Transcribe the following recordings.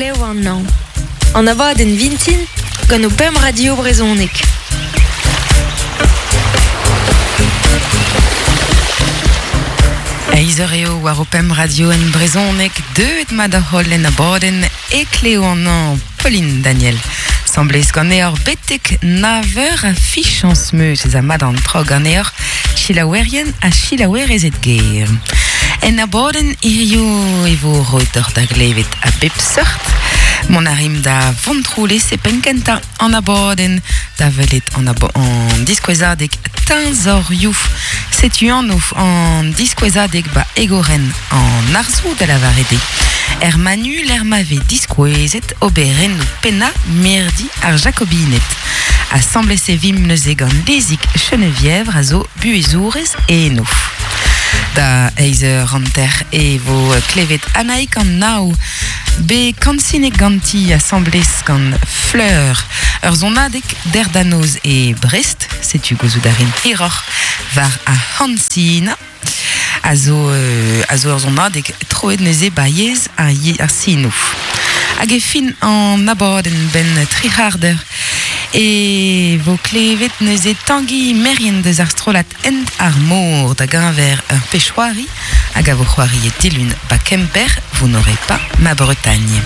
Heklev an hañv. An abadenn vintin gant ho pemp radio brezhonek. Eizh eur eo war ho pemp radio en brezhoneg deuet mat da holl en abadenn Heklev an hañv. Pauline Daniel. Semblez ganeoc'h betek nav eur a fichañs 'meus ez a mat an traoù ganeoc'h, selaouerien ha selaouerezed ger. En abadenn hiziv e vo roet deoc'h da glevet a bep seurt. Mont a rimp da Vontroulez e penn-kentañ an abadenn da welet an, an diskouezadeg Teñzorioù. Setu anv an diskouezadeg ba Egorenn an arzoù da lavaret eo. Er Manu lec'h ma vez diskouezet oberennoù pennañ mirdi ar Jakobined. Asambles e vimp neuze gant Lezig Chenevièvre a zo buhezourez eno. Da eizh eur hanter e vo klevet Anaïk an Naou, bet kansinet ganti asambles gant Fleur, ur sonadeg derdanoz e Brest, setu gouzout a rin hiroc'h war ar c'hansinañ, a zo, a zo ur sonadeg troet neuze ba yezh ar, ar sinoù. Hag e fin an abadenn benn tri c'hard eur e vo klevet neuze Tangi Merien deus ar strollad Hent ar Mor da geñver ur pezh-c'hoari hag a vo c'hoariet dilun ba Kemper, vous n'aurez pas ma Bretagne.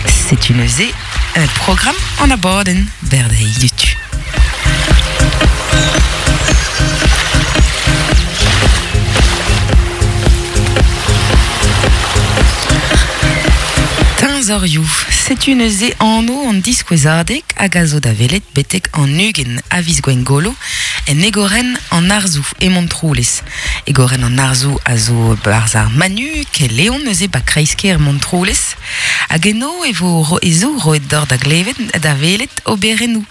Setu neuze un programm an abadenn berdeiz dutu. Teñzorioù, setu neuze anv an diskouezadeg hag a zo da welet betek an 20 a viz Gwengolo en egorenn an arzoù e Montroulez. Egorenn an arzoù a zo barzh ar Manu, Leon neuze ba kreiz-kêr Montroulez. Hag eno e vo e zo roet deoc'h da glevet da welet oberennoù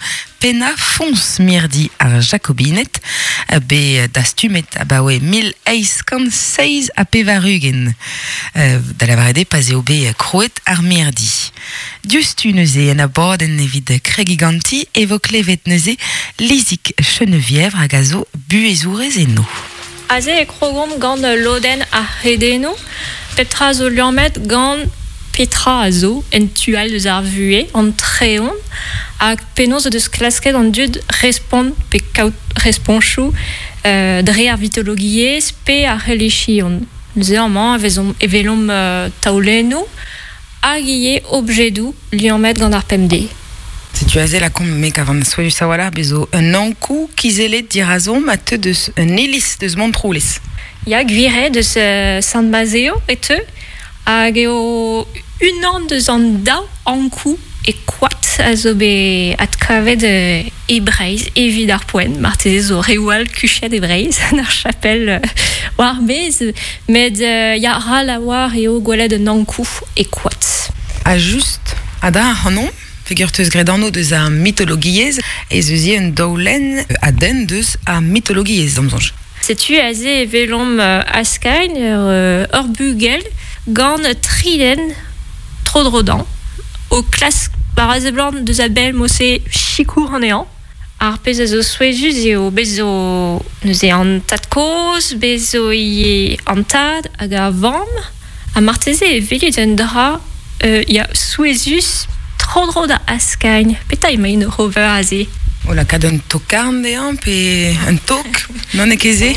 pennañ foñs mirdi ar Jakobined, bet dastumet abaoe 1887, da lavaret eo pa'z eo bet krouet ar mirdi. Diouzhtu neuze en abadenn evit kregiñ ganti e vo klevet neuze Lizig Chenevièvre hag a zo buhezourez eno. Aze e krogomp gant lodenn ar c'hredennoù. Pep tra zo liammet gant petra a zo en tu all eus ar vuhez, an treon, hag penaos o deus klasket an dud respont pe kaout responchoù dre ar vitologiezh pe ar relijion. Neuze amañ e vezomp e welomp taolennoù hag ivez objedoù liammet gant ar pemdez. Setu aze lakaomp me kavan souezhus a-walc'h bez zo un ankoù kizellet dirazomp a teu deus un iliz deus Montroulez. Ya, gwir eo, deus Sant-Mazeo e teu, hag eo unan deus an daou ankoù e koad a zo bet adkavet e Breizh evit ar poent. Marteze zo reoù all kuchet e Breizh, en ur chapel war maez, met ya, ral a-walc'h eo gwelet un ankoù e koad. Ha just ha da ac'hanomp, peogwir 'teus graet anv deus ar mitologiezh, ez eus ivez un daolenn a denn deus ar mitologiezh, d'am soñj. Setu aze e welomp Askain, ur bugel gant tri den tro-dro dezhañ, o klask war a seblant deus a-bell mod-se sikour anezhañ. Ar pezh a zo souezhus eo bez zo neuze an tad-kozh, bez zo ivez an tad hag ar vamm, ha marteze e welit un dra ya souezhus tro-dro da Askain. Petra emaint oc'h ober aze? O lakaat un tokarn dezhañ pe un tok, n'on ket ket se?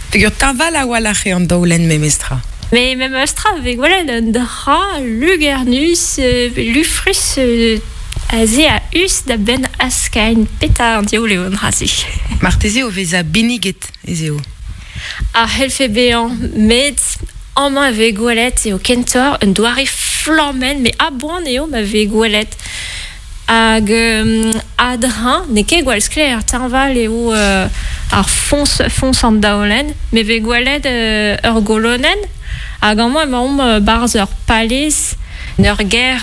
Peogwir teñval a-walc'h eo an daolenn memestra. Mais memestra e vez gwelet un dra lugernus, lufrus aze a-us da benn Askain. Petra an diaoul eo an dra-se? Marteze o vezañ benniget ez eo. A c'hellfe bezañ, met amañ e vez gwelet eo kentoc'h un doare flammenn, met a-boan eo ma vez gwelet. Hag a-dreñv, n'eo ket gwall sklaer, teñval eo ar foñs, foñs an daolenn, me vez gwelet ur golonenn, hag amañ emaomp 'barzh ur palez, en ur gêr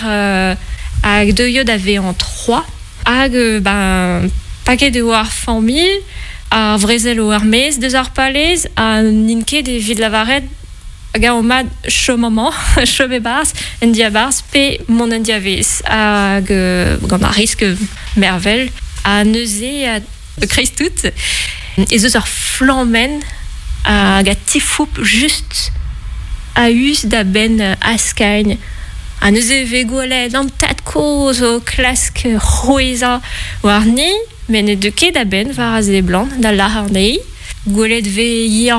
hag deuio da vezañ Troyes, hag ben paket eo ar familh, ar vrezel eo er-maez deus ar palez, ha n'int ket evit lavaret Hag eo mat chom amañ, chom e-barzh, en diabarzh, pe mont en diavaez, hag gant ar risk mervel. Ha neuze, e-kreiz tout, ez eus ur flammenn hag a tifoup just a-us da benn Askain. Ha neuze e vez gwelet an tad-kozh o klask c'hwezhañ warni, met ne deu ket a-benn war a seblant da lâr anezhi. Gwelet 'vez ivez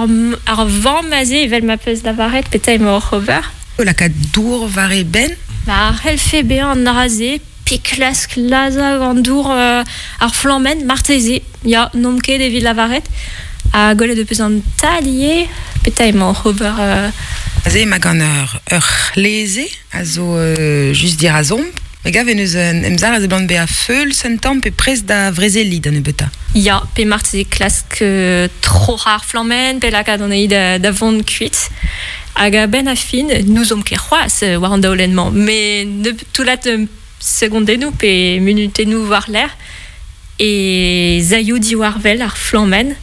ar vamm aze evel ma 'peus lavaret petra emañ oc'h ober. O lakaat dour war e benn. Ma c'hellfe bezañ an dra-se pe klask lazhañ an dour ar flammenn marteze. Ya, n'omp ket evit lavaret. Ha gwelet ho peus an tad ivez petra emañ oc'h ober. Aze emañ gant ur c'hleze a zo just dirazomp. Me gav en deus un emzalc'h a seblant bezañ feuls un tamm pe prest da vrezeliñ da nebeutañ. Ya, pe marteze klask troc'hañ ar flammenn pe lakaat anezhi da vont kuit. Hag a-benn ar fin, n'ouzomp ket c'hoazh war an daolenn-mañ, met nebeut toullad segondennoù pe munutennoù war-lerc'h e zaio diwar-wel ar flammenn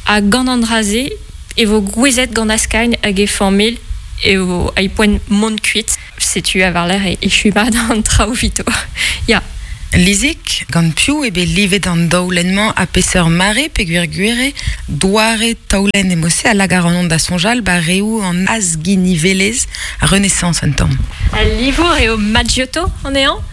ha gant an dra-se e vo gouezet gant Askagn hag e familh eo ai poent mont kuit. Setu ha war-lerc'h e echu mat an traoù evito. Ya. Lizig, gant piv eo bet livet an daolenn-mañ ha peseurt mare peogwir gwir eo doare taolenn emo-se a lak ac'hanon da soñjal ba reoù an azginivelezh ar Renaissance un tamm. Al livour eo Maggiotto anezhañ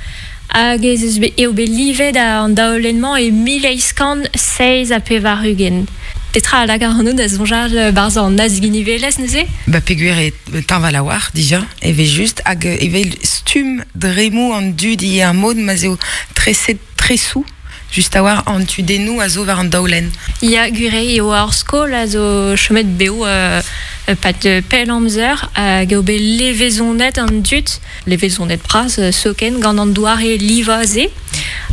hag ez eus bet eo bet livet an daolenn-mañ e 1887. Petra a lak ac'hanon da soñjal barzh an azginivelezh neuze? Ba peogwir eo teñval a-walc'h dija evel-just hag evel stumm dremmoù an dud ivez ar mod ma'z eo treset tresoù just a-walc'h an tudennoù a zo war an daolenn. Ya, gwir eo ar skol a zo chomet bev e-pad pell amzer hag eo bet levezonet an dud, levezonet bras zoken gant an doare livañ-se.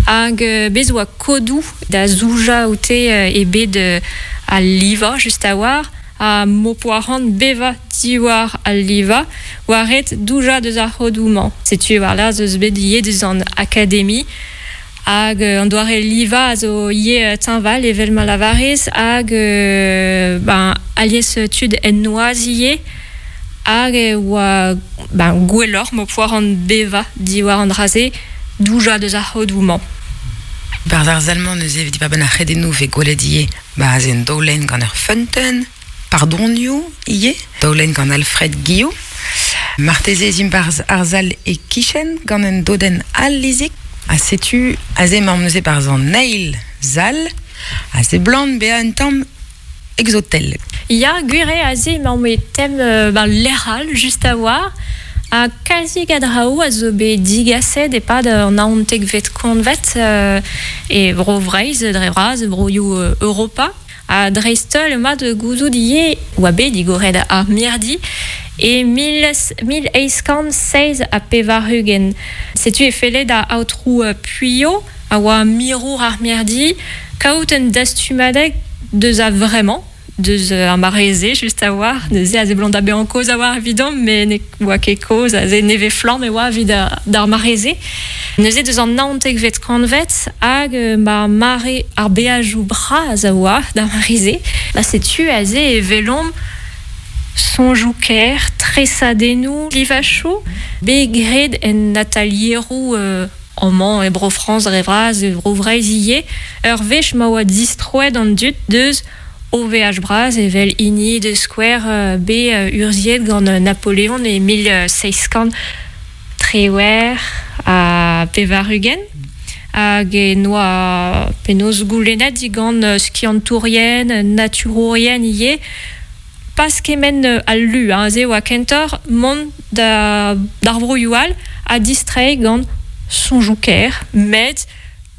Hag bez' oa kodoù da zoujañ oute e bed al livañ just a-walc'h. Ha m'ho poa c'hoant bevañ diwar al livañ, oa ret doujañ deus ar c'hodoù-mañ. Setu war-lerc'h ez eus bet ivez deus an akademi hag an doare livañ a zo ivez teñval evel ma lavarez hag ben alies tud en noazh ivez hag e oa ben gwelloc'h m'ho poa c'hoant bevañ diwar an dra-se, doujañ deus ar c'hodoù-mañ. Barzh ar sal-mañ neuze evit diwar-benn ar c'hredennoù 'vez gwelet ivez Ba aze un daolenn gant ur feunteun, pardonioù ivez, daolenn gant Alfred Guillou. Marteze ez imp barzh ar sal e-kichen gant un dodenn all Lizig. Ha setu aze emaomp neuze barzh an eil sal, a seblant bezañ un tamm exotel. Ya, gwir eo aze emaomp e tem ben, lec'h all just a-walc'h. Ha kalzik a draoù a zo bet digaset e-pad an naontekvet kantved e Bro-Vreizh dre vras, e broioù Europa. Ha dreist-holl emañ da gouzout ivez oa bet digoret ar mirdi e 1887. Setu e felle da aotrou Puillo, a oa mirour ar mirdi, kaout un dastumadeg deus a-vremañ. Deus ar mare-se just a-walc'h neuze a seblant da bezañ kozh a-walc'h evidomp met ne oa ket kozh aze nevez-flamm e oa evit d'ar mare-se. Neuze deus an naontekvet kantved hag ma mare ar beajoù bras a oa d'ar mare-se, ba setu aze e welomp soñjoù kaer, tresadennoù, livachoù bet graet en atalieroù amañ e Bro-Frañs dre vras, e Bro-Vreizh ivez, ur wech ma oa distroet an dud deus O veaj bras evel hini da skouer bet urzhiet gant Napoleon e 1798 hag en oa penaos goulennet digant skiantourien, naturourien ivez, pas kement al lu, hein, se oa kentoc'h mont d'ar broioù all ha distreiñ gant soñjoù kaer, met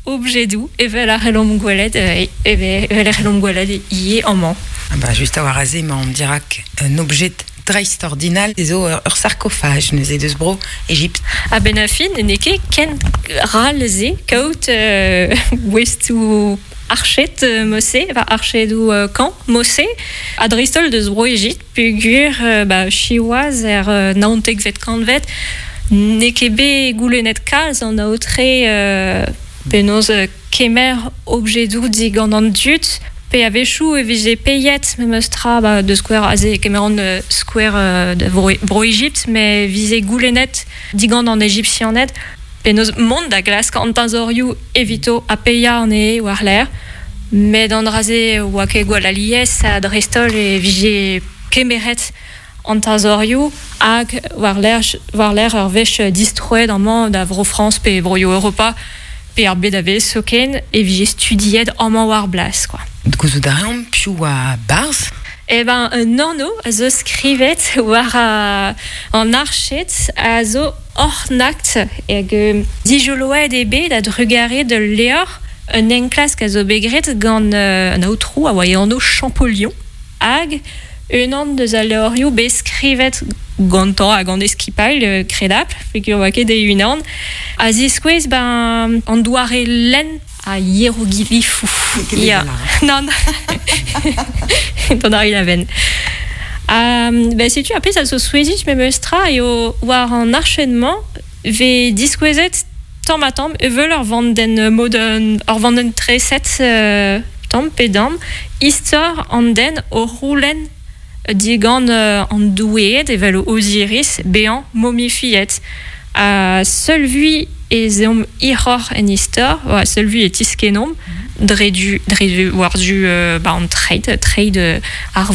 Objedoù evel a c'hellomp gwelet evel e c'hellomp gwelet ivez amañ. Ah bah just a-walc'h aze emaomp dirak un objed dreistordinal zo ur sarkofaj neuze deus bro Egipt. A-benn ar fin n'eo ket ken ral se kaout gouestoù arched mod-se, va archedoù kañv mod-se, ha dreist-holl deus bro Egipt peogwir ba siwazh er naontekvet kantved n'eo ket bet goulennet kalz an aotre penaos kemer objedoù digant an dud pe a-wechoù e vije paeet memes tra ba da skouer aze e kemeran skouer da Bro-Egipt met e vije goulennet digant an Ejipsianed penaos mont da glask an teñzorioù evito ha paeañ anezhe war-lerc'h met an dra-se oa ket gwall alies ha dreist-holl e vije kemeret. an teñzorioù hag war-lerc'h war-lerc'h ur wech distroet amañ da Vro-Frañs pe broioù Europa pe ar bed a-bezh zoken e vije studiet amañ war blas kwa. Gouzout a reomp piv oa barzh? Eh ben un anv a zo skrivet war an arched a zo Ornakt hag dijoloet eo bet a-drugarez d'ul levr un enklask a zo bet graet gant un aotrou a oa e anv Champollion hag unan deus al levrioù bet skrivet gantañ ha gant e skipailh kredapl peogwir 'oa ket e-unan a ziskouez ben an doare lenn a hieroglifoù. Ya, nann. Dont a rin a-benn. Ben setu ar pezh a zo souezhus memes tra eo war an arched-mañ 'vez diskouezet tamm-ha-tamm evel ur vandenn mod ur vandenn treset tamm pe damm istor an den o c'houlenn digant an doueed evel Osiris bezañ momifiet. Ha seul vui ez eomp hiroc'h en istor, seul vui e tiskennomp dre du, dre war-zu ba an treid, treid ar.